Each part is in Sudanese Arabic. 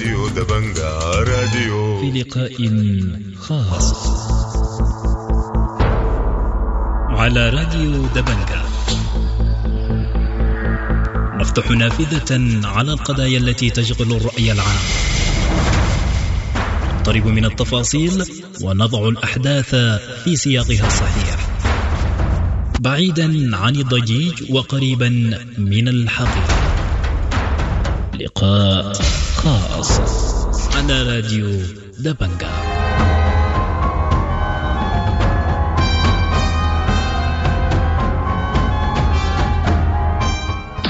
راديو دبنجا راديو. في لقاء خاص على راديو دبنجا نفتح نافذة على القضايا التي تشغل الرأي العام، نقترب من التفاصيل ونضع الأحداث في سياقها الصحيح، بعيدا عن الضجيج وقريبا من الحقيقة. لقاء خاص على راديو دبنجا.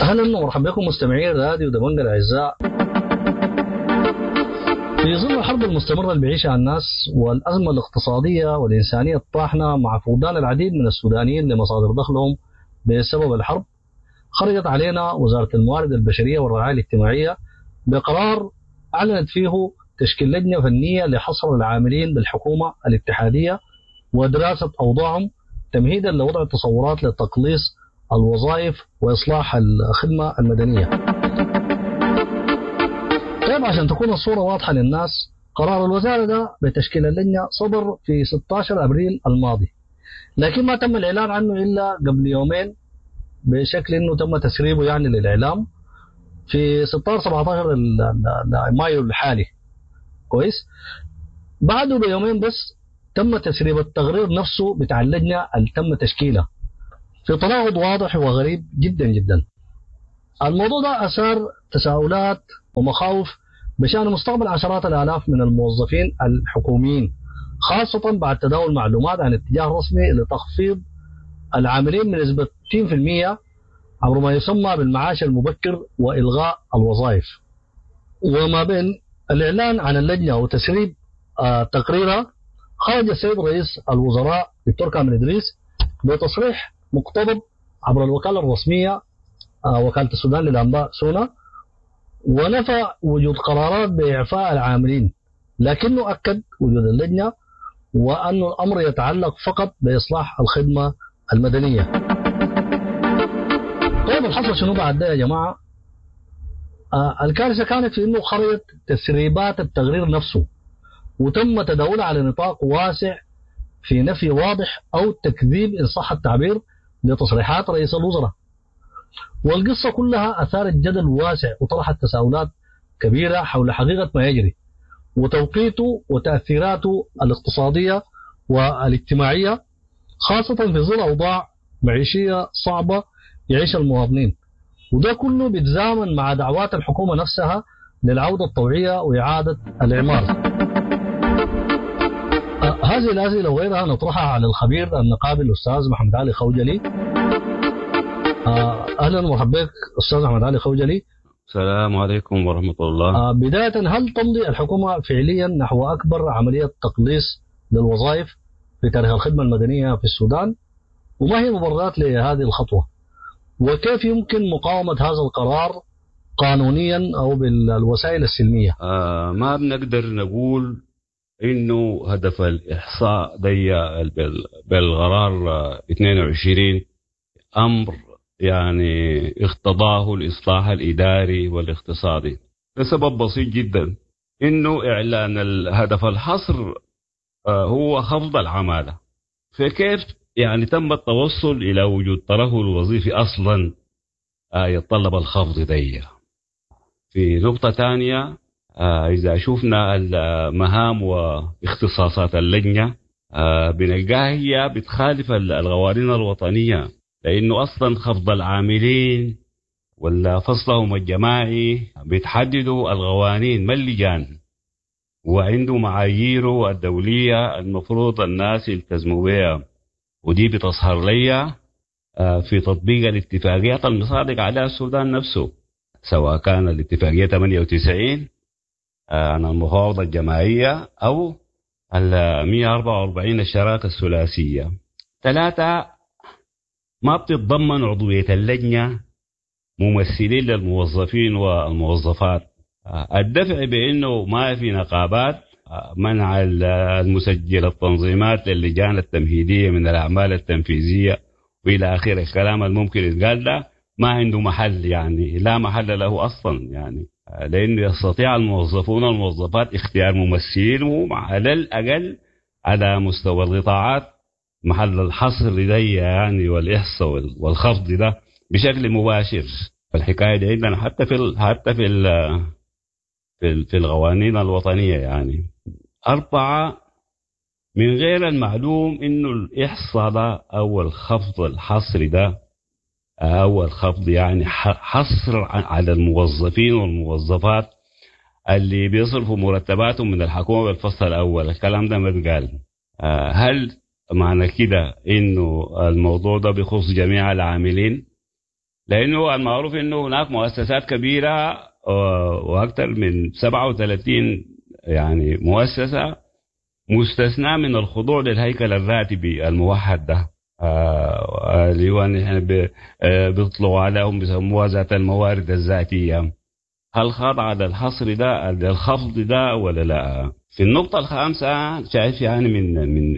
اهلا ومرحبا بكم مستمعين راديو دبنجا الاعزاء. في ظل الحرب المستمرة اللي بيعيشها الناس والأزمة الاقتصادية والإنسانية الطاحنة مع فقدان العديد من السودانيين لمصادر دخلهم بسبب الحرب، خرجت علينا وزارة الموارد البشرية والرعاية الاجتماعية بقرار أعلنت فيه تشكيل لجنة فنية لحصر العاملين بالحكومة الاتحادية ودراسة أوضاعهم تمهيدا لوضع تصورات لتقليص الوظائف وإصلاح الخدمة المدنية. طيب، عشان تكون الصورة واضحة للناس، قرار الوزارة ده بتشكيل اللجنة صدر في 16 أبريل الماضي، لكن ما تم الإعلان عنه إلا قبل يومين بشكل إنه تم تسريبه يعني للإعلام في 16 17 مايو الحالي. كويس، بعده بيومين بس تم تسريب التقرير نفسه بتاع اللجنة اللي تم تشكيلها، في تناقض واضح وغريب جدا جدا. الموضوع ده أثار تساؤلات ومخاوف بشأن مستقبل عشرات الآلاف من الموظفين الحكوميين، خاصة بعد تداول معلومات عن اتجاه رسمي لتخفيض العاملين بنسبة 60% عبر ما يسمى بالمعاش المبكر وإلغاء الوظائف. وما بين الإعلان عن اللجنة وتسريب تقريرها، خرج السيد رئيس الوزراء دكتور كامل إدريس بتصريح مقتضب عبر الوكالة الرسمية وكالة السودان للأنباء سونا، ونفى وجود قرارات بإعفاء العاملين، لكنه أكد وجود اللجنة وأن الأمر يتعلق فقط بإصلاح الخدمة المدنية. طيب، الحصل شنو بعد ده يا جماعة؟ الكارثة كانت في أنه خرجت تسريبات التقرير نفسه وتم تداولها على نطاق واسع في نفي واضح أو تكذيب إن صح التعبير لتصريحات رئيس الوزراء. والقصة كلها أثارت جدل واسع وطرحت تساؤلات كبيرة حول حقيقة ما يجري وتوقيته وتأثيراته الاقتصادية والاجتماعية، خاصة في ظل أوضاع معيشية صعبة يعيش المواطنين، وده كله بيتزامن مع دعوات الحكومة نفسها للعودة الطوعية وإعادة الإعمار. هذه الأسئلة وغيرها نطرحها على الخبير النقابي الأستاذ محمد علي خوجلي. أهلا ومرحبا بك أستاذ محمد علي خوجلي. السلام عليكم ورحمة الله. بداية، هل تمضي الحكومة فعليا نحو أكبر عملية تقليص للوظائف في تاريخ الخدمة المدنية في السودان؟ وما هي مبررات لهذه الخطوة؟ وكيف يمكن مقاومة هذا القرار قانونيا أو بالوسائل السلمية؟ ما بنقدر نقول إنه هدف الإحصاء دي بالقرار 22 أمر يعني اقتضاه الإصلاح الإداري والاقتصادي، لسبب بسيط جدا، إنه إعلان الهدف الحصر هو خفض العمالة. فكيف يعني تم التوصل إلى وجود ترهل وظيفي أصلا يتطلب الخفض دي؟ في نقطة ثانية، إذا شفنا المهام واختصاصات اللجنة بنلقاها هي بتخالف القوانين الوطنية، لأنه أصلا خفض العاملين ولا فصلهم الجماعي بتحددوا القوانين ما اللجان، وعنده معاييره الدولية المفروض الناس يلتزموا بها، ودي بتظهر لي في تطبيق الاتفاقيات المصادق عليها السودان نفسه، سواء كان الاتفاقية 98 عن المفاوضة الجماعية أو ال 144 الشراكة الثلاثية. ثلاثة، ما بتتضمن عضوية اللجنة ممثلين للموظفين والموظفات. الدفع بأنه ما في نقابات، منع المسجل التنظيمات للجان التمهيدية من الأعمال التنفيذية وإلى آخره، الكلام الممكن يتقال ده ما عنده محل، يعني لا محل له أصلا. يعني لأنه يستطيع الموظفون والموظفات اختيار ممثلينهم على الأقل على مستوى القطاعات محل الحصر دي يعني والإحصاء والخفض ده بشكل مباشر. الحكاية دي عندنا حتى في القوانين الوطنية يعني. 4، من غير المعلوم إنه الإحصاء ده أو الخفض الحصري ده أو الخفض يعني حصر على الموظفين والموظفات اللي بيصرفوا مرتباتهم من الحكومة بالفصل الأول، الكلام ده ما اتقال. هل معنى كده إنه الموضوع ده بيخص جميع العاملين؟ لأنه المعروف إنه هناك مؤسسات كبيرة وأكثر من 37 يعني مؤسسة مستثنى من الخضوع للهيكل الراتبي الموحد ده، اللي هو نحن بيطلقوا عليهم بيسموها ذات الموارد الذاتية. هل خاضع للحصر ده للخفض ده ولا لا؟ في النقطة الخامسة شايف يعني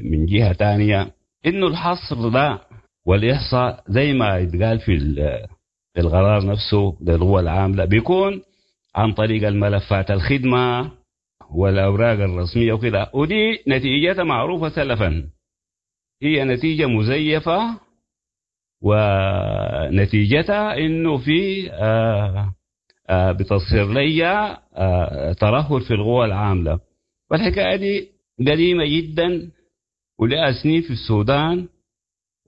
من جهة تانية إنه الحصر ده والإحصاء زي ما يتقال في القرار نفسه للقوى العاملة بيكون عن طريق الملفات الخدمة والأوراق الرسمية وكده، ودي نتيجتها معروفة سلفا، هي نتيجة مزيفة، ونتيجتها إنه في بتصير لي ترهل في القوى العاملة. والحكاية دي قديمة جدا ولها سنين في السودان،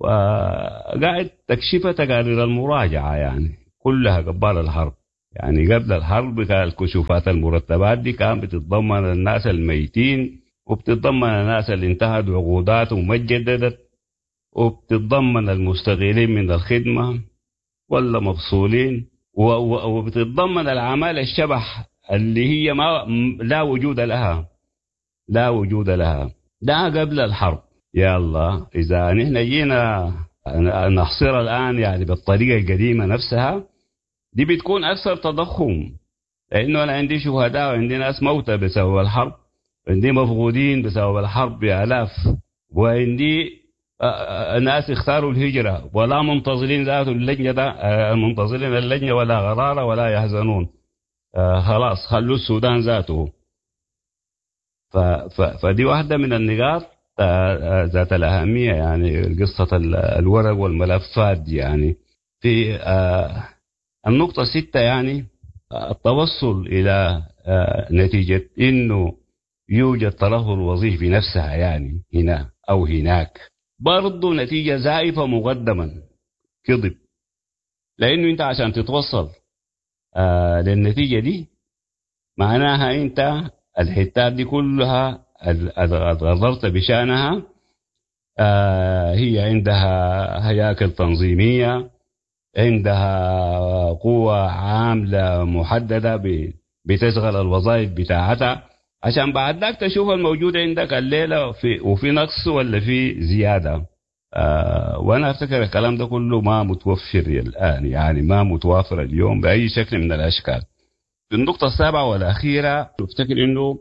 وقاعد تكشفها تقارير المراجعة يعني كلها قبل الحرب. يعني قبل الحرب كان الكشوفات المرتبات دي كان بتتضمن الناس الميتين، وبتتضمن الناس اللي انتهت عقوداتهم وما اتجددت، وبتتضمن المستغيلين من الخدمة ولا مفصولين، وبتتضمن العمالة الشبح اللي هي ما لا وجود لها، لا وجود لها. ده قبل الحرب. يلا إذا نحن جينا نحصرها الآن يعني بالطريقة القديمة نفسها دي بتكون أكثر تضخم، لأنه أنا عندي شهداء وعندي ناس موتى بسبب الحرب، عندي مفقودين بسبب الحرب بآلاف، وعندي ناس اختاروا الهجرة ولا منتظرين ذات اللجنة ده، منتظرين اللجنة ولا غرارة ولا يحزنون، خلاص خلوا السودان ذاته. فدي واحدة من النقاط ذات الأهمية، يعني قصة الورق والملفات دي. يعني في النقطة 6 يعني التوصل إلى نتيجة إنه يوجد ترهل وظيفي نفسها يعني هنا أو هناك، برضو نتيجة زائفة مقدما، كذب، لأنه أنت عشان تتوصل للنتيجة دي معناها أنت الحتات دي كلها غضرت بشأنها، هي عندها هياكل تنظيمية، عندها قوة عاملة محددة بتشغل الوظائف بتاعتها، عشان بعد ذاك تشوف الموجود عندك الليلة وفي نقص ولا في زيادة. وأنا أفتكر الكلام ده كله ما متوفر الآن، يعني ما متوافر اليوم بأي شكل من الأشكال. في النقطة 7 والأخيرة أفتكر إنه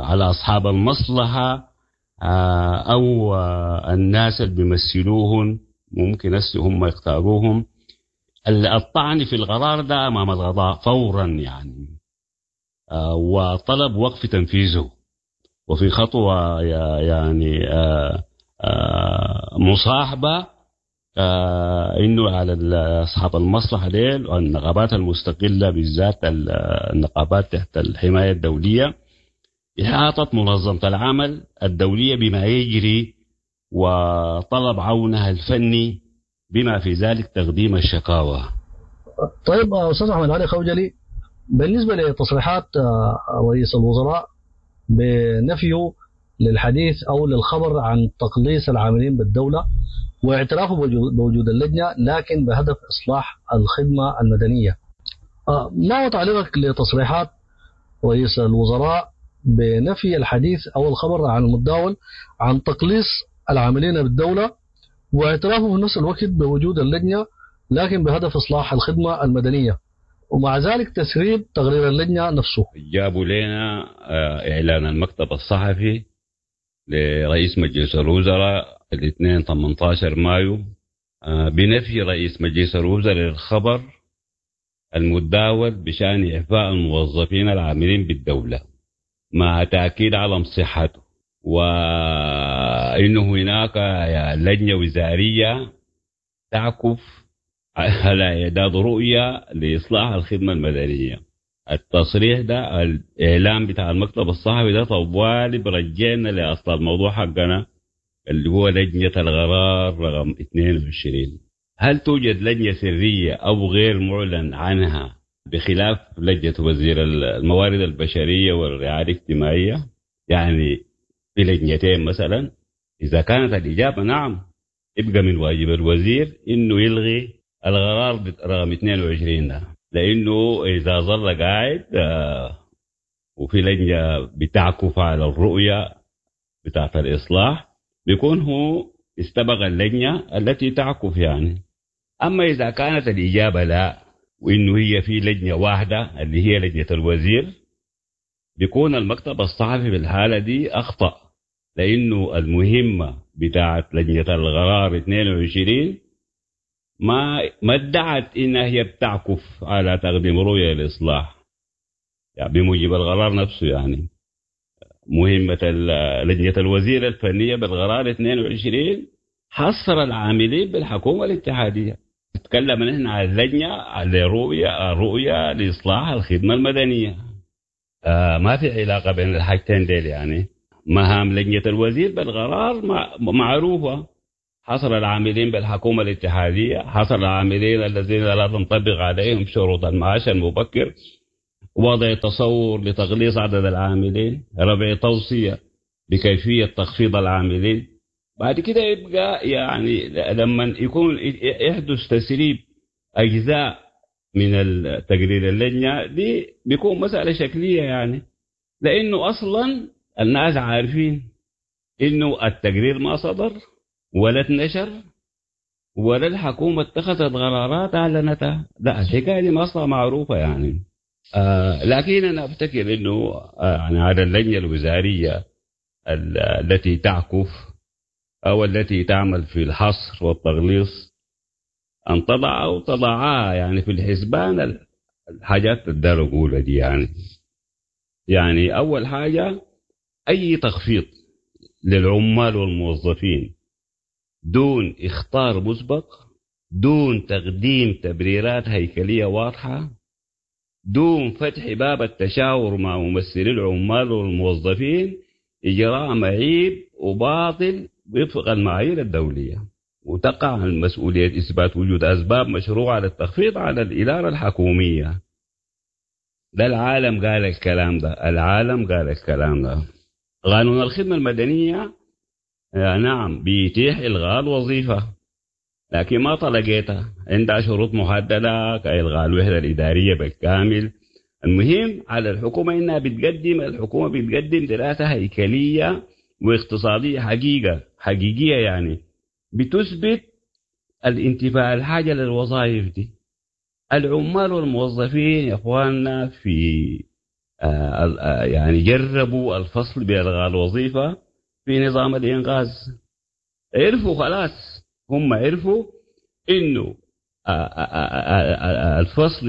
على أصحاب المصلحة أو الناس اللي بيمثلوهم ممكن هم يختاروهم الطعن في القرار ده أمام القضاء فورا يعني، وطلب وقف تنفيذه، وفي خطوة يعني مصاحبة إنه على أصحاب المصلحة ديل والنقابات المستقلة بالذات النقابات تحت الحماية الدولية إحاطة منظمة العمل الدولية بما يجري وطلب عونها الفني بما في ذلك تقديم الشكاوى. طيب أستاذ أحمد علي خوجلي، بالنسبة لتصريحات رئيس الوزراء بنفيه للحديث أو للخبر عن تقليص العاملين بالدولة واعترافه بوجود اللجنة لكن بهدف إصلاح الخدمة المدنية، ما هو تعليقك لتصريحات رئيس الوزراء بنفي الحديث أو الخبر عن المتداول عن تقليص العاملين بالدولة واعترافه في نفس الوقت بوجود اللجنة لكن بهدف إصلاح الخدمة المدنية، ومع ذلك تسريب تقرير اللجنة نفسه؟ جابوا لنا إعلان المكتب الصحفي لرئيس مجلس الوزراء الاثنين 18 مايو بنفي رئيس مجلس الوزراء للخبر المتداول بشأن إعفاء الموظفين العاملين بالدولة مع تأكيد على صحته، وإنه هناك لجنة وزارية تعكف على إعداد رؤية لإصلاح الخدمة المدنية. التصريح ده، الإعلام بتاع المكتب الصحفي ده طوالي برجعنا لأصل الموضوع حقنا اللي هو لجنة القرار رقم 22. هل توجد لجنة سرية أو غير معلن عنها بخلاف لجنة وزير الموارد البشرية والرعاية الاجتماعية؟ يعني في لجنتين مثلا؟ إذا كانت الإجابة نعم، يبقى من واجب الوزير إنه يلغي القرار رقم 22 ده، لأنه إذا ظل قاعد وفي لجنة بتعكف على الرؤية بتاعت الإصلاح بيكون هو استبق اللجنة التي تعكف يعني. أما إذا كانت الإجابة لا، وإنه هي في لجنة واحدة اللي هي لجنة الوزير، بيكون المكتب الصحفي في الحالة دي أخطأ، لأنه المهمة بتاعت لجنة القرار 22 ما ادعت إنها هي بتعكف على تقديم رؤية للإصلاح، يعني بموجب القرار نفسه. يعني مهمة لجنة الوزير الفنية بالقرار 22 حصر العاملين بالحكومة الاتحادية. نتكلم نحن عن اللجنة على رؤية لإصلاح الخدمة المدنية. ما في علاقة بين الحاجتين ديل. يعني مهام لجنة الوزير بالقرار معروفة، حصر العاملين بالحكومة الاتحادية، حصر العاملين الذين لا تنطبق عليهم شروط المعاش المبكر، وضع تصور لتقليص عدد العاملين، رفع توصية بكيفية تخفيض العاملين. بعد كده يبقى يعني لما يكون يحدث تسريب أجزاء من تقرير اللجنة دي بيكون مسألة شكلية، يعني لأنه أصلا الناس عارفين إنه التقرير ما صدر ولا اتنشر ولا الحكومة اتخذت قرارات أعلنتها. لا، الحكاية دي ما أصلا معروفة يعني. لكن أنا أفتكر إنه يعني على اللجنة الوزارية التي تعكف أو التي تعمل في الحصر والتغليص أن تضع أو تضعها يعني في الحسبان الحاجات الدار دي. يعني أول حاجة أي تخفيض للعمال والموظفين دون إخطار مسبق، دون تقديم تبريرات هيكلية واضحة، دون فتح باب التشاور مع ممثلي العمال والموظفين، إجراء معيب وباطل وفق المعايير الدولية، وتقع المسؤولية إثبات وجود أسباب مشروعة للتخفيض على الإدارة الحكومية. ده العالم قال الكلام ده، العالم قال الكلام ده. قانون الخدمة المدنية نعم بيتيح إلغاء الوظيفة، لكن ما طلقتها، عندها شروط محددة كإلغاء الوحدة الإدارية بالكامل. المهم على الحكومة إنها بتقدم، الحكومة بتقدم دراسة هيكلية واقتصادية حقيقية يعني بتثبت الانتفاع الحاجة للوظائف دي. العمال والموظفين يا إخواننا في يعني جربوا الفصل بإلغاء الوظيفة في نظام الإنقاذ، عرفوا خلاص، هم عرفوا إنه الفصل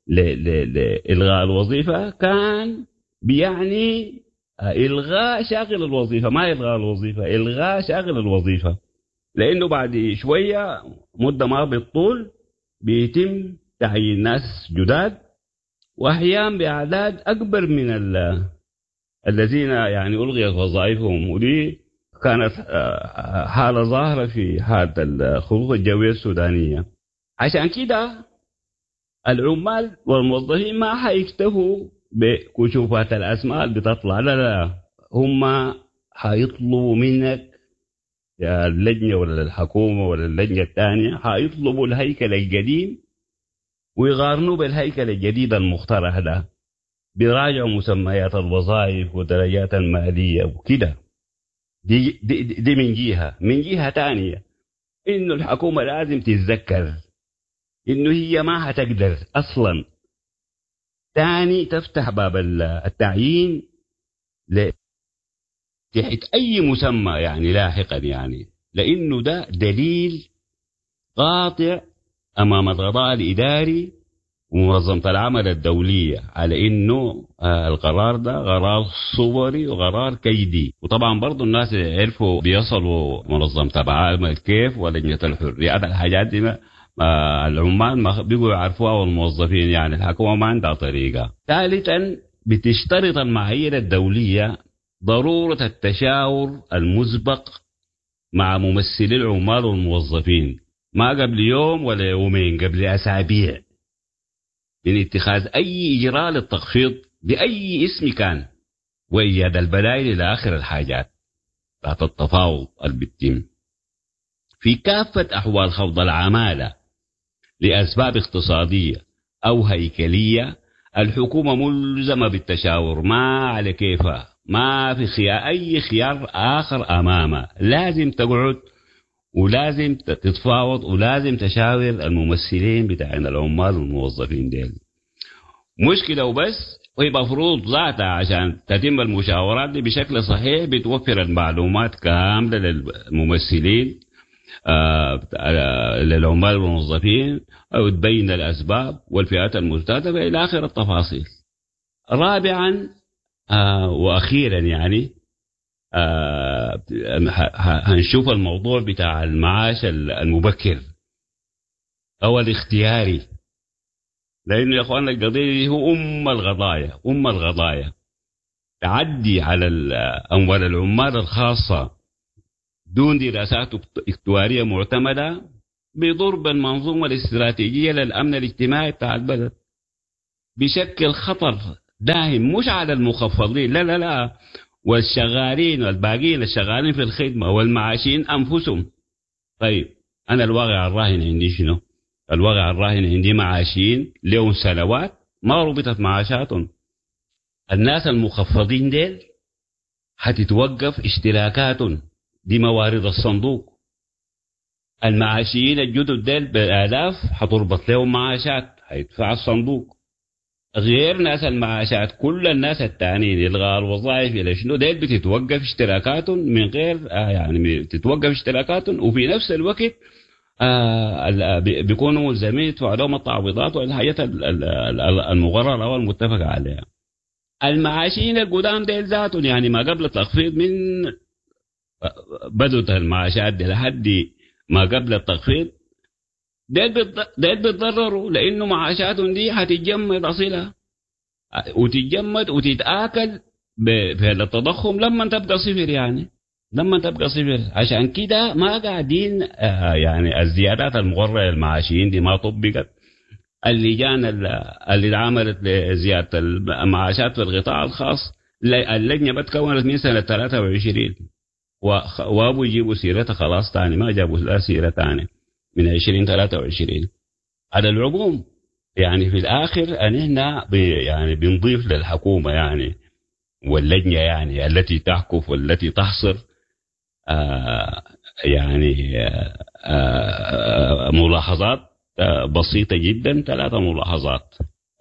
لإلغاء الوظيفة كان بيعني إلغاء شاغل الوظيفة، ما إلغاء الوظيفة، إلغاء شاغل الوظيفة، لأنه بعد شوية مدة ما بالطول بيتم تعيين ناس جداد، وأحيانا بأعداد أكبر من الذين يعني ألغيت وظائفهم. ودي كانت حالة ظاهرة في حالة الخطوط الجوية السودانية. عشان كده العمال والموظفين ما حيكتفوا بكشوفات الأسماء اللي بتطلع، لا لا، هم حيطلبوا منك يا اللجنة ولا الحكومة ولا اللجنة الثانية، حيطلبوا الهيكل القديم ويقارنوا بالهيكل الجديد المقترح ده، بيراجعوا مسميات الوظائف ودرجات المالية وكده. دي, دي, دي من جهة. من جهة تانية إنه الحكومة لازم تتذكر إنه هي ما هتقدر أصلا تاني تفتح باب التعيين تحت أي مسمى يعني لاحقا، يعني لأنه ده دليل قاطع أمام القضاء الإداري ومنظمة العمل الدولية على إنه القرار ده قرار صوري وقرار كيدي. وطبعا برضو الناس عرفوا بيصلوا منظمة العمل كيف ولجنة الحريات، الحاجات دي ما العمال ما بيقوا يعرفوها والموظفين، يعني الحكومة ما عندها طريقة. ثالثا بتشترط المعايير الدولية ضرورة التشاور المسبق مع ممثلي العمال والموظفين، ما قبل يوم ولا يومين، قبل أسابيع، من اتخاذ أي إجراء للتخفيض بأي اسم كان، وإيجاد البدائل إلى آخر الحاجات تحت التفاوض اللي بيتم. في كافة أحوال خفض العمالة لأسباب اقتصادية أو هيكلية، الحكومة ملزمة بالتشاور، ما على كيفها، ما في خيار، أي خيار آخر أمامها، لازم تقعد ولازم تتفاوض ولازم تشاور الممثلين بتاعين العمال والموظفين ديل. مشكلة وبس، وهي مفروض ذاتها عشان تتم المشاورات دي بشكل صحيح بتوفر المعلومات كاملة للممثلين للعمال والموظفين، أو تبين الأسباب والفئات المستهدفة إلى آخر التفاصيل. رابعا وأخيرا يعني هنشوف الموضوع بتاع المعاش المبكر أو الاختياري، لأنه يا أخواننا القضية دي هو أم القضايا، أم القضايا. تعدي على أموال العمال الخاصة دون دراسات اكتوارية معتمدة بضرب المنظومة الاستراتيجية للأمن الاجتماعي بتاع البلد، بشكل خطر داهم مش على المخفضين، لا لا لا، والشغالين والباقين الشغالين في الخدمة والمعاشين أنفسهم. طيب أنا الواقع الراهن عندي شنو؟ الواقع الراهن عندي معاشين لهم سنوات ما ربطت معاشاتهم. الناس المخفضين ديل حتتوقف اشتراكاتهم دي موارد الصندوق. المعاشيين الجدد ديل بالآلاف حتربط لهم معاشات، هيدفع الصندوق. غير ناس المعاشات، كل الناس التانيين الغاء الوظائف الى شنو ديل بتتوقف اشتراكاتهم من غير يعني بتتوقف اشتراكاتهم، وفي نفس الوقت بيكونوا ملزمين يدفعوا لهم التعويضات والحاجات المقررة والمتفق عليها. المعاشين القدام ديل ذاتهم يعني ما قبل التخفيض، من بدت المعاشات دي لحد ما قبل التخفيض ديل بيتضرروا، لانه معاشاتهم دي هتتجمد اصلها وتتجمد وتتاكل في التضخم لما تبقى صفر، يعني لما تبقى صفر. عشان كده ما قاعدين يعني الزيادات المقررة للمعاشيين دي ما طبقت. اللجان اللي اتعملت لزيادة المعاشات في القطاع الخاص، اللجنة بتكونت من سنة 23 وابو يجيبوا سيرتها خلاص تاني، ما جابوا لا سيره تاني من 2023. على العموم يعني في الآخر أن إحنا يعني بنضيف للحكومة يعني واللجنة يعني التي تحكف والتي تحصر يعني ملاحظات بسيطة جدا، 3 ملاحظات.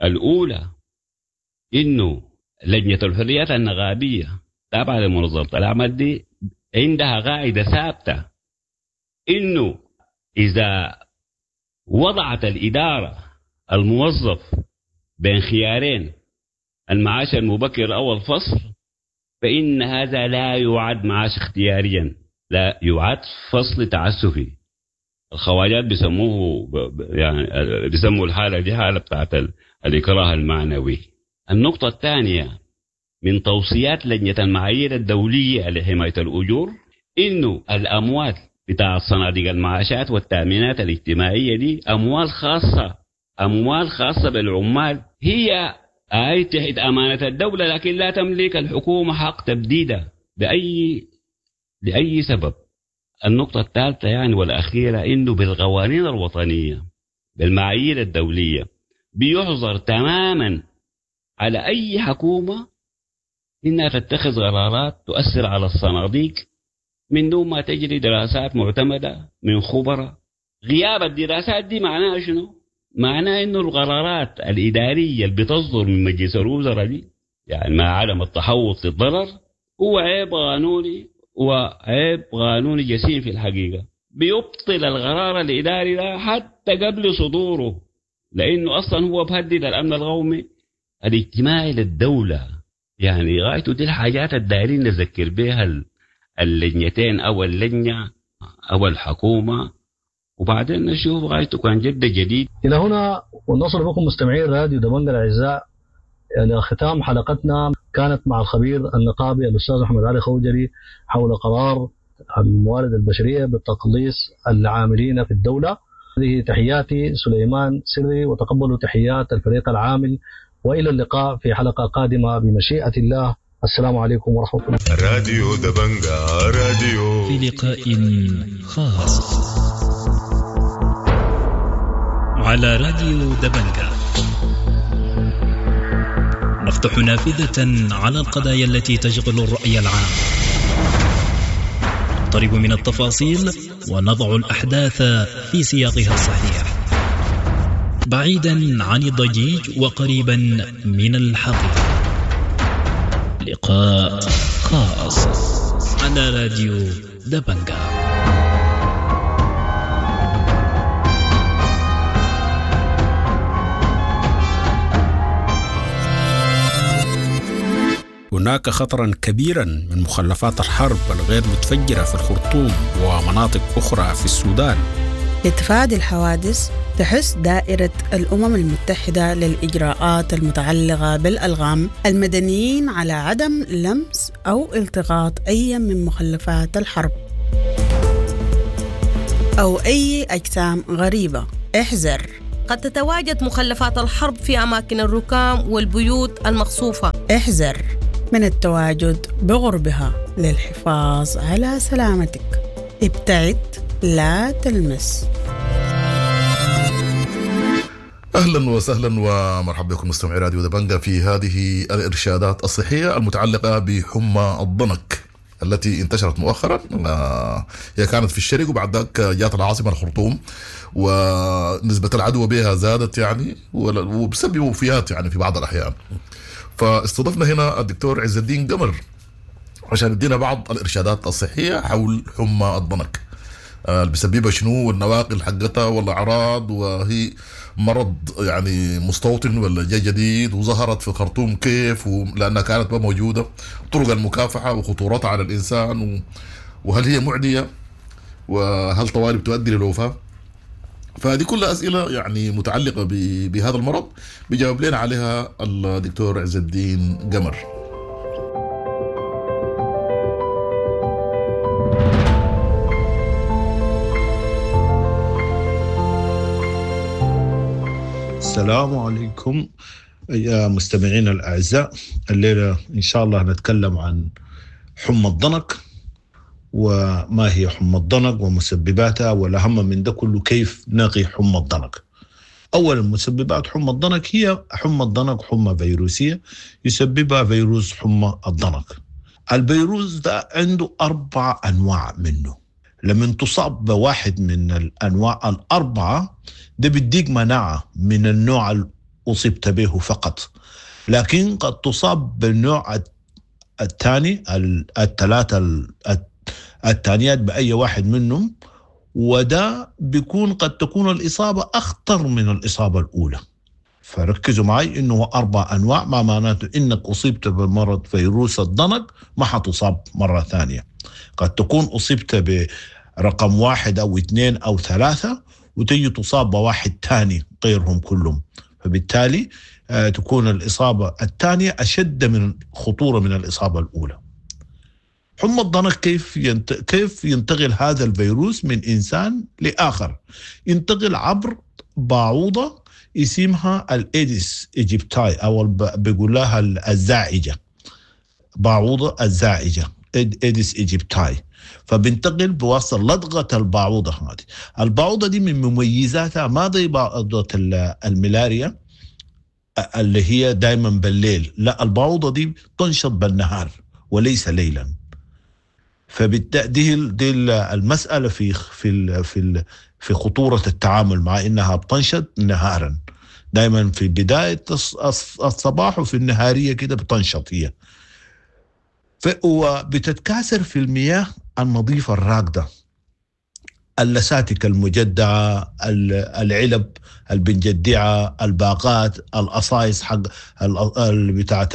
الأولى إنه لجنة الحريات النغابية تابعة لمنظمة العمل دي عندها قاعدة ثابتة إنه إذا وضعت الإدارة الموظف بين خيارين، المعاش المبكر أو الفصل، فإن هذا لا يعد معاش اختياريا، لا يعد فصل تعسفي. الخواجات بيسموه يعني بيسموا الحالة دي حالة بتاعت الإكراه المعنوي. النقطة الثانية من توصيات لجنة المعايير الدولية لحماية الأجور إنه الأموال بتاع صناديق المعاشات والتأمينات الاجتماعية دي أموال خاصة، أموال خاصة بالعمال، هي أي تحت أمانة الدولة، لكن لا تملك الحكومة حق تبديدها لأي سبب. النقطة الثالثة يعني والأخيرة إنه بالقوانين الوطنية بالمعايير الدولية بيحظر تماما على أي حكومة إنها تتخذ قرارات تؤثر على الصناديق من دون ما تجري دراسات معتمدة من خبراء. غياب الدراسات دي معناها شنو؟ معناه إنه القرارات الإدارية اللي بتصدر من مجلس الوزراء دي يعني مع عدم التحوط للضرر هو عيب قانوني، وعيب قانوني جسيم في الحقيقة، بيبطل القرار الإداري ده حتى قبل صدوره، لأنه أصلا هو بهدد الأمن القومي الاجتماعي للدولة. يعني غايته دي الحاجات الدايرين نذكر بها اللجنتين أو اللجنة أو الحكومة، وبعدين نشوف غايته كان جد جديد. إلى هنا ونصل بكم مستمعين راديو دبنجة الأعزاء إلى ختام حلقتنا، كانت مع الخبير النقابي الأستاذ أحمد علي خوجلي حول قرار الموارد البشرية بتقليص العاملين في الدولة. هذه تحياتي سليمان سري، وتقبلوا تحيات الفريق العامل، وإلى اللقاء في حلقة قادمة بمشيئة الله. السلام عليكم ورحمة الله. راديو دبنجة راديو في لقاء خاص على راديو دبنجة نفتح نافذة على القضايا التي تشغل الرأي العام، نقترب من التفاصيل ونضع الأحداث في سياقها الصحيح، بعيدا عن الضجيج وقريبا من الحقيقة. لقاء خاص على راديو دبنجة. هناك خطرا كبيرا من مخلفات الحرب الغير متفجرة في الخرطوم ومناطق أخرى في السودان. لتفادي الحوادث تحث دائرة الأمم المتحدة للإجراءات المتعلقة بالألغام المدنيين على عدم لمس أو التقاط أي من مخلفات الحرب أو أي أجسام غريبة. احذر، قد تتواجد مخلفات الحرب في أماكن الركام والبيوت المقصوفة. احذر من التواجد بغربها للحفاظ على سلامتك. ابتعد، لا تلمس. اهلا وسهلا ومرحبا بكم مستمعي راديو دبنجة في هذه الارشادات الصحية المتعلقة بحمى الضنك التي انتشرت مؤخرا. هي كانت في الشرق وبعد ذاك جات العاصمة الخرطوم، ونسبه العدوى بها زادت يعني وبسبب وفيات يعني في بعض الاحيان. فاستضفنا هنا الدكتور عز الدين قمر عشان يدينا بعض الارشادات الصحية حول حمى الضنك، اللي بيسببها شنو والنواقل حقتها والاعراض، وهي مرض يعني مستوطن ولا جاي جديد، وظهرت في الخرطوم كيف لانها كانت ما موجودة، طرق المكافحه وخطورتها على الانسان، وهل هي معدية، وهل طوارئ بتؤدي للوفاه. فهذه كلها اسئلة يعني متعلقه بهذا المرض بيجاوب لنا عليها الدكتور عز الدين قمر. السلام عليكم يا مستمعين الأعزاء. الليلة إن شاء الله نتكلم عن حمى الضنك، وما هي حمى الضنك ومسبباتها، والأهم من ده كله كيف نقي حمى الضنك. أولا، مسببات حمى الضنك هي حمى الضنك حمى فيروسية يسببها فيروس حمى الضنك. الفيروس ده عنده 4 أنواع منه. لما تصاب بواحد من الأنواع 4 ده بيديك مناعة من النوع اللي أصبت به فقط، لكن قد تصاب بالنوع الثاني، الثلاثة الثانيات بأي واحد منهم، وده بيكون قد تكون الإصابة أخطر من الإصابة الأولى. فركزوا معي إنه 4 أنواع، ما معناته إنك أصبت بمرض فيروس الضنك ما حتصاب مرة ثانية. قد تكون أصبت برقم 1 أو 2 أو 3 وتجي تصاب بواحد ثاني غيرهم كلهم، فبالتالي تكون الإصابة الثانية أشد من خطورة من الإصابة الأولى. حمى الضنك كيف ينتقل هذا الفيروس من إنسان لآخر؟ ينتقل عبر باعوضة اسمها ال Aedes aegypti، أو بيقول لها الزاعجة، باعوضة الزاعجة Aedes aegypti. فبنتقل بواسطة لدغة الباعوضة هذه. الباعوضة دي من مميزاتها ما زي باعوضة الملاريا اللي هي دايما بالليل، لا، الباعوضة دي تنشط بالنهار وليس ليلا. فبالتالي دي المسألة في في في في خطورة التعامل مع إنها بتنشط نهارا، دايما في بداية الصباح وفي النهارية كده بتنشط هي. وبتتكاثر في المياه النظيفة الراكدة. اللساتك المجدعة، العلب البنجدعة، الباقات، القصايص حق بتاعة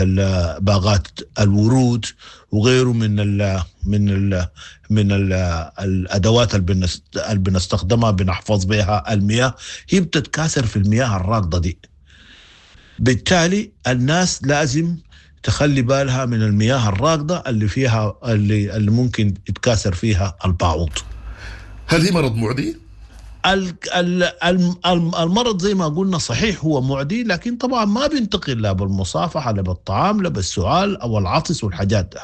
باقات الورود وغيره من ال من ال من ال الادوات اللي بنستخدمها بنحفظ بها المياه، هي بتتكاثر في المياه الراكضة دي. بالتالي الناس لازم تخلي بالها من المياه الراكضة اللي فيها اللي ممكن يتكاثر فيها البعوض. هل هي مرض معدي؟ المرض زي ما قلنا صحيح هو معدي، لكن طبعا ما بينتقل لا بالمصافحة لا بالطعام لا بالسعال أو العطس والحاجات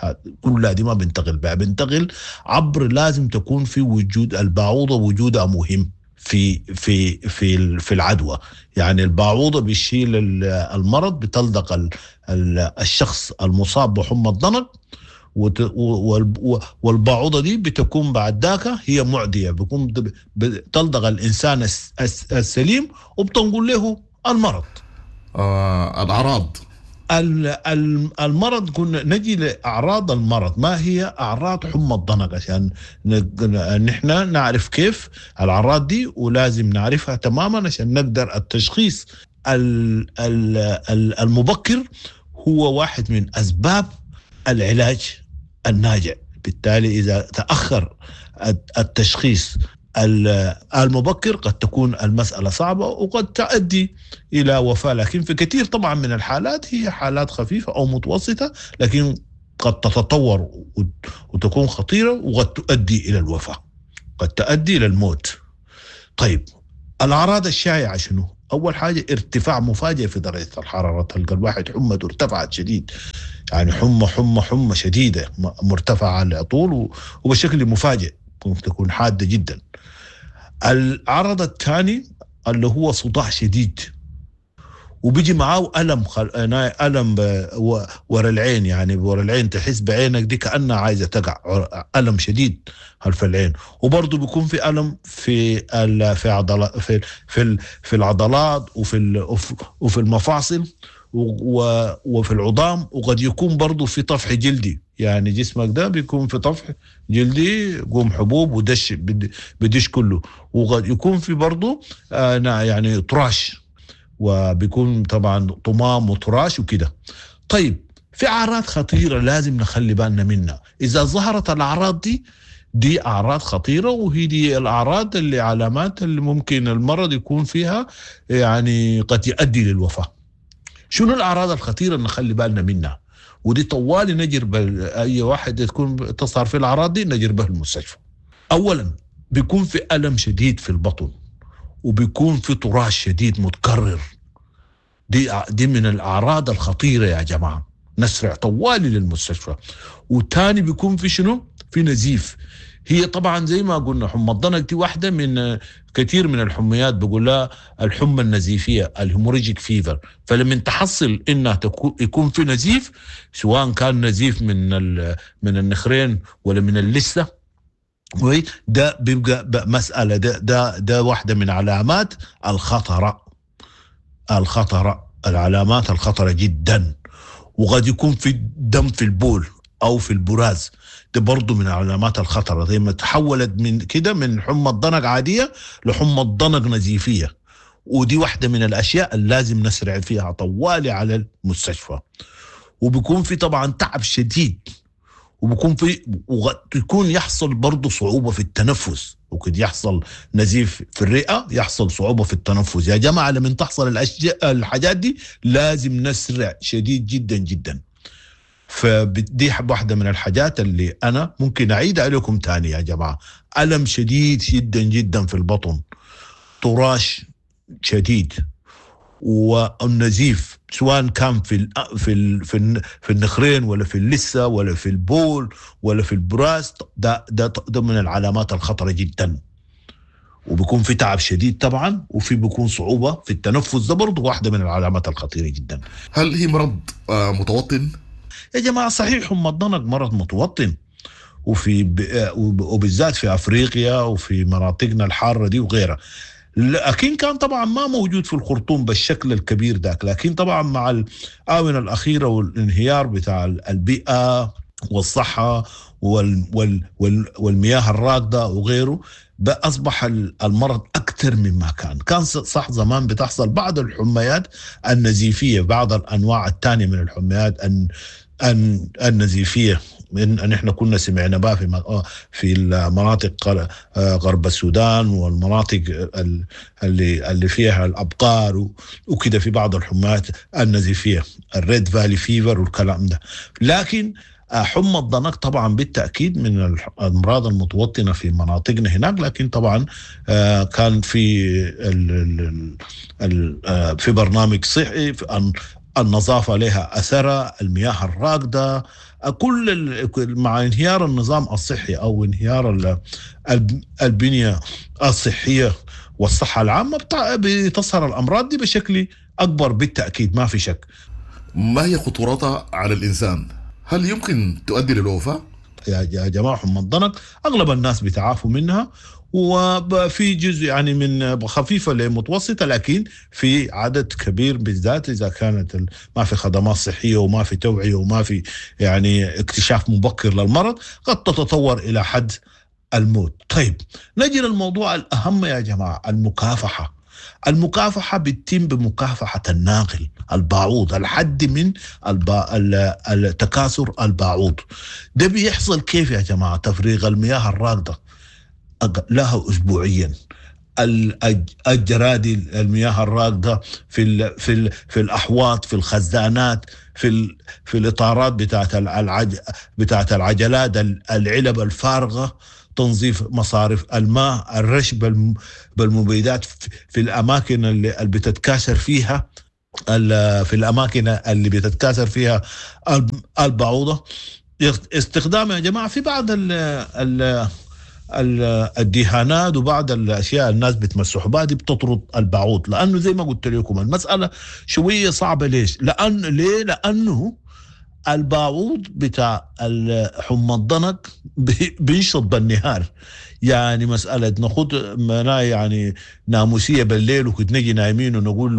كلها دي ما بينتقل بها، بينتقل عبر لازم تكون في وجود البعوضة، وجودها مهم في في في في العدوى. يعني البعوضة بيشيل المرض، بتلدق الشخص المصاب بحمى الضنك، والبعوضة دي بتكون بعد ذاك هي معدية، بيكون بتلدغ الإنسان السليم وبتنقل له المرض. الأعراض المرض، كنا نجي لأعراض المرض. ما هي أعراض حمى الضنك عشان نحن نعرف كيف الأعراض دي، ولازم نعرفها تماما عشان نقدر التشخيص المبكر هو واحد من أسباب العلاج الناجع. بالتالي إذا تأخر التشخيص المبكر قد تكون المسألة صعبة وقد تؤدي إلى وفاة، لكن في كثير طبعا من الحالات هي حالات خفيفة أو متوسطة، لكن قد تتطور وتكون خطيرة وقد تؤدي إلى الوفاة، قد تؤدي إلى الموت. طيب الأعراض الشائعة شنو؟ أول حاجة ارتفاع مفاجئ في درجة الحرارة، تلقى الواحد حمته ارتفعت شديد، يعني حمى حمى حمى شديدة مرتفعة على طول وبشكل مفاجئ، ممكن تكون حادة جدا. العرض الثاني اللي هو صداع شديد، وبيجي معاه ألم ألم ورا العين، يعني ورا العين تحس بعينك دي كأنها عايزة تقع، ألم شديد خلف العين. وبرضه بيكون في ألم في في عضلات في في في العضلات وفي المفاصل وفي العظام، وقد يكون برضه في طفح جلدي، يعني جسمك ده بيكون في طفح جلدي، قوم حبوب ودش بدش كله، وقد يكون في برضه يعني طراش، وبيكون طبعا طمام وطراش وكده. طيب في أعراض خطيرة لازم نخلي بالنا منها، إذا ظهرت الأعراض دي أعراض خطيرة، وهي دي الأعراض اللي علامات اللي ممكن المرض يكون فيها يعني قد يؤدي للوفاة. شنو الأعراض الخطيرة اللي نخلي بالنا منها؟ ودي طوالي نجر أي واحد تكون تظهر في الأعراض دي نجر به المستشفى. أولا بيكون في ألم شديد في البطن، وبيكون في طراش شديد متكرر، دي من الأعراض الخطيرة يا جماعة، نسرع طوالي للمستشفى. وتاني بيكون في شنو؟ في نزيف. هي طبعا زي ما قلنا حمى الضنك دي واحدة من كثير من الحميات، بقول لها الحمى النزيفية ال hemorrhagic fever. فلما تحصل انها يكون في نزيف، سواء كان نزيف من النخرين ولا من اللثة، ده بيبقى مسألة، ده واحدة من علامات الخطرة، العلامات الخطرة جدا. وقد يكون في دم في البول أو في البراز، ده برضو من علامات الخطرة. زي ما تحولت من كده من حمى الضنك عادية لحمى الضنك نزيفية، ودي واحدة من الأشياء اللي لازم نسرع فيها طوالي على المستشفى. وبيكون في طبعا تعب شديد، وبيكون في ويكون يحصل برضه صعوبة في التنفس، وقد يحصل نزيف في الرئة، يحصل صعوبة في التنفس. يا جماعة لما تحصل الحاجات دي لازم نسرع شديد جدا جدا. فدي واحدة من الحاجات اللي أنا ممكن أعيد عليكم تاني يا جماعة. ألم شديد جدا جدا في البطن، طراش شديد، والنزيف سواء كان في في في في النخرين ولا في اللثة ولا في البول ولا في البراز، ده من العلامات الخطرة جدا. وبيكون في تعب شديد طبعا، وفي بيكون صعوبة في التنفس، ده برضه واحدة من العلامات الخطيرة جدا. هل هي مرض متوطن؟ يا جماعة صحيح حمى الضنك مرض متوطن، وفي وبالذات في افريقيا وفي مناطقنا الحارة دي وغيرها، لكن كان طبعا ما موجود في الخرطوم بالشكل الكبير ذاك. لكن طبعا مع الآونة الأخيرة والانهيار بتاع البيئة والصحة والمياه الراكدة وغيره، أصبح المرض أكثر مما كان صح. زمان بتحصل بعض الحميات النزيفية، بعض الأنواع الثانية من الحميات النزيفية من نحن كنا سمعنا بها في المناطق غرب السودان والمناطق اللي فيها الأبقار وكده، في بعض الحميات النزيفية ال Red Valley fever والكلام ده. لكن حمى الضنك طبعا بالتأكيد من الأمراض المتوطنة في مناطقنا هناك، لكن طبعا كان في في برنامج صحي، النظافة لها أثرها، المياه الراكدة، كل مع انهيار النظام الصحي أو انهيار البنية الصحية والصحة العامة بتظهر الأمراض دي بشكل أكبر بالتأكيد، ما في شك. ما هي خطورتها على الإنسان؟ هل يمكن تؤدي للوفاة؟ يا جماعة حمى الضنك أغلب الناس بيتعافوا منها، وفي جزء يعني من خفيفة لمتوسطة، لكن في عدد كبير بالذات إذا كانت ما في خدمات صحية وما في توعية وما في يعني اكتشاف مبكر للمرض، قد تتطور إلى حد الموت. طيب نجي للموضوع الأهم يا جماعة، المكافحة. المكافحة بتتم بمكافحة الناقل البعوض، الحد من التكاثر البعوض. ده بيحصل كيف يا جماعة؟ تفريغ المياه الراكدة لها أسبوعيا، الجرادي المياه الراكدة في في في الأحواض، في الخزانات، في في الإطارات بتاعت العجلات، العلب الفارغة، تنظيف مصارف الماء، الرش بالمبيدات في الأماكن اللي بتتكاثر فيها، في الأماكن اللي بتتكاثر فيها البعوضة. استخدام يا جماعة في بعض الدهانات وبعض الأشياء الناس بتمسحوا بها دي بتطرد البعوض، لأنه زي ما قلت لكم المسألة شوية صعبة. ليش؟ ليه؟ لأنه البعوض بتاع حمى الضنك بينشط بالنهار، يعني مسألة ناخد يعني ناموسية بالليل وكنت نجي نايمين ونقول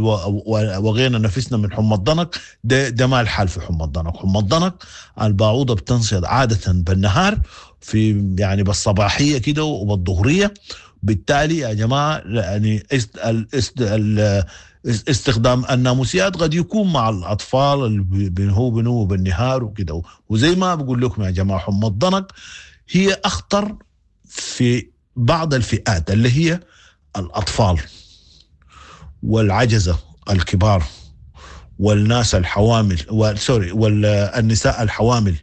وغينا نفسنا من حمى الضنك، ده ما الحال في حمى الضنك. حمى الضنك البعوضة بتنشط عادة بالنهار، في يعني بالصباحية كده وبالظهرية. بالتالي يا جماعة يعني استخدام الناموسيات قد يكون مع الأطفال اللي بنهو بالنهار وكده. وزي ما بقول لكم يا جماعة حمى الضنك هي أخطر في بعض الفئات اللي هي الأطفال والعجزة الكبار والناس الحوامل والنساء الحوامل،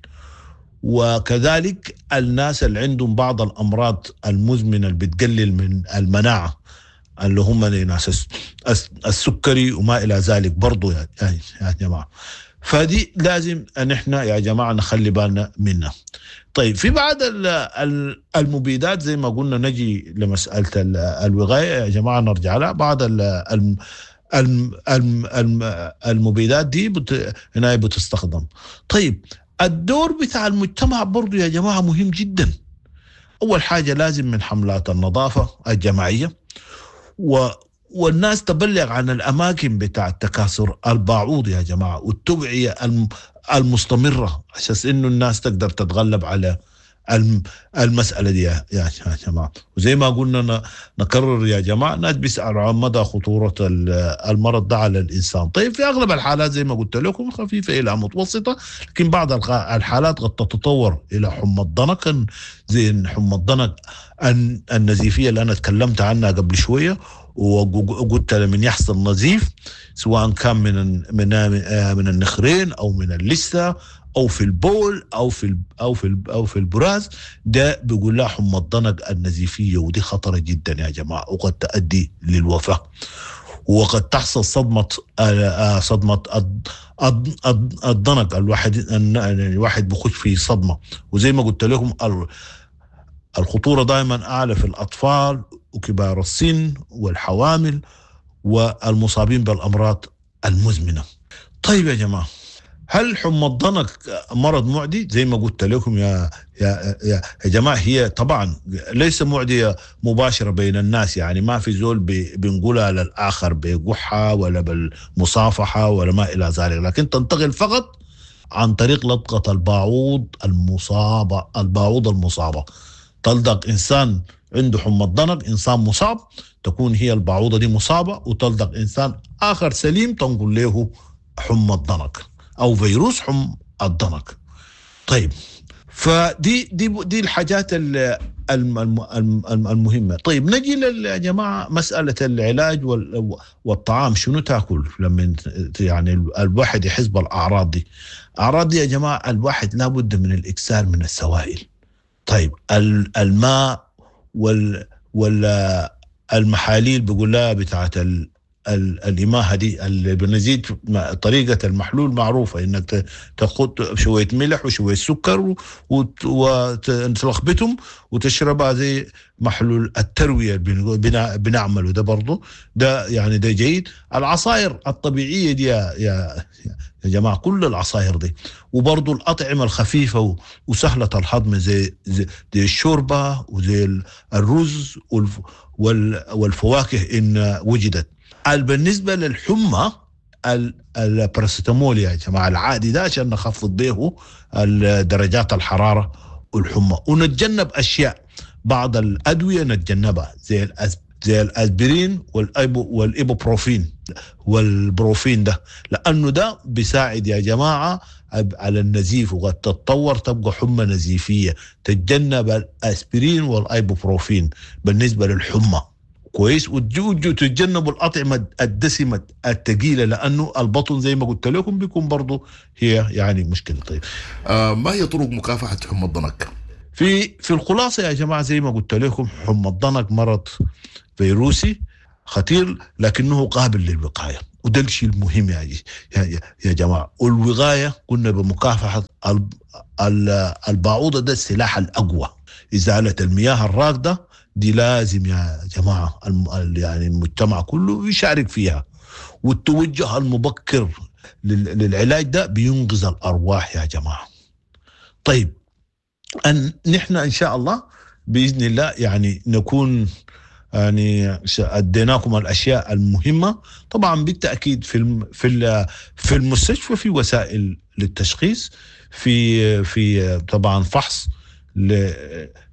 وكذلك الناس اللي عندهم بعض الأمراض المزمنة اللي بتقلل من المناعة اللي هم ناس السكري وما إلى ذلك برضو يا جماعة. فدي لازم أن احنا يا جماعة نخلي بالنا منها. طيب في بعض المبيدات زي ما قلنا، نجي لمسألة الوقاية يا جماعة، نرجع لها. بعض المبيدات دي هنا بتستخدم. طيب الدور بتاع المجتمع برضو يا جماعة مهم جدا. أول حاجة لازم من حملات النظافة الجماعية، والناس تبلغ عن الأماكن بتاع التكاثر البعوض يا جماعة، والتوعية المستمرة عشان إنه الناس تقدر تتغلب على المسألة دي يا جماعة. وزي ما قلنا نكرر يا جماعة، الناس بيسألوا عن مدى خطورة المرض ده على الإنسان. طيب في أغلب الحالات زي ما قلت لكم خفيفة إلى متوسطة، لكن بعض الحالات قد تتطور إلى حمى الضنك، زي حمى الضنك النزيفية اللي أنا تكلمت عنها قبل شوية، وقلت لمن يحصل نزيف سواء كان من من من النخرين أو من اللثة او في البول او في او في او في البراز، ده بيقول لها حمى الضنك النزيفيه، ودي خطره جدا يا جماعه، وقد تؤدي للوفاه، وقد تحصل صدمه الضنك. الواحد بيخش في صدمه، وزي ما قلت لكم الخطوره دائما اعلى في الاطفال وكبار السن والحوامل والمصابين بالامراض المزمنه. طيب يا جماعه، هل حمى الضنك مرض معدي؟ زي ما قلت لكم يا يا يا جماعه، هي طبعا ليس معديه مباشره بين الناس، يعني ما في زول بنقولها للاخر بقحه ولا بالمصافحه ولا ما الى ذلك، لكن تنتقل فقط عن طريق لدغة الباعوض المصابة. الباعوض المصابة تلدغ إنسان عنده حمى الضنك، إنسان مصاب، تكون هي البعوضة دي مصابة، وتلدغ إنسان آخر سليم تنقل له حمى الضنك أو فيروس حمى الضنك. طيب فدي دي دي الحاجات المهمة. طيب نجي يا جماعة مسألة العلاج والطعام، شنو تاكل لما يعني الواحد يحس بالأعراض دي؟ أعراض دي يا جماعة الواحد لابد من الإكثار من السوائل. طيب الماء والمحاليل بيقول لها بتاعت الإماهة دي اللي بنزيد، طريقة المحلول معروفة، إنك تاخد شوية ملح وشوية سكر وتلخبطهم وتشربها زي محلول التروية بنعمله ده برضه، ده يعني ده جيد. العصائر الطبيعية دي يا جماعة، كل العصائر دي، وبرضه الأطعمة الخفيفة وسهلة الهضم زي الشوربة وزي الرز والفواكه إن وجدت. بالنسبة للحمى الباراسيتامول يا جماعة العادي ده عشان نخفض به درجات الحرارة والحمى، ونتجنب أشياء، بعض الأدوية نتجنبها زي الأسبرين والإيبوبروفين والبروفين ده، لأنه ده بيساعد يا جماعة على النزيف، وقد تتطور تبقى حمى نزيفية. تتجنب الأسبرين والإيبوبروفين بالنسبة للحمى. كويس. وتتجنبوا الأطعمة الدسمة الثقيلة، لأنه البطن زي ما قلت لكم بيكون برضو هي يعني مشكلة. طيب ما هي طرق مكافحة حمى الضنك؟ في الخلاصة يا جماعة زي ما قلت لكم، حمى الضنك مرض فيروسي خطير لكنه قابل للوقاية، وده الشيء المهم يا جماعة. والوقاية قلنا بمكافحة البعوضة، ده السلاح الأقوى. إزالة المياه الراكدة دي لازم يا جماعة يعني المجتمع كله يشارك فيها، والتوجه المبكر للعلاج ده بينقذ الأرواح يا جماعة. طيب أن نحن إن شاء الله بإذن الله يعني نكون يعني أديناكم الأشياء المهمة. طبعا بالتأكيد في المستشفى في وسائل للتشخيص، في طبعا فحص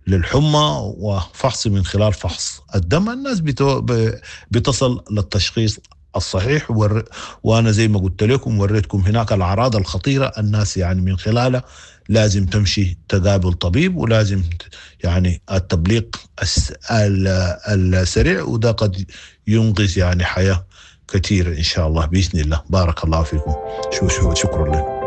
للحمى وفحص من خلال فحص الدم، الناس بتصل للتشخيص الصحيح. وأنا زي ما قلت لكم وريتكم هناك الأعراض الخطيرة، الناس يعني من خلالها لازم تمشي تقابل طبيب، ولازم يعني التبليغ السريع، وده قد ينقذ يعني حياة كثيرة إن شاء الله بإذن الله. بارك الله فيكم، شكرا لكم.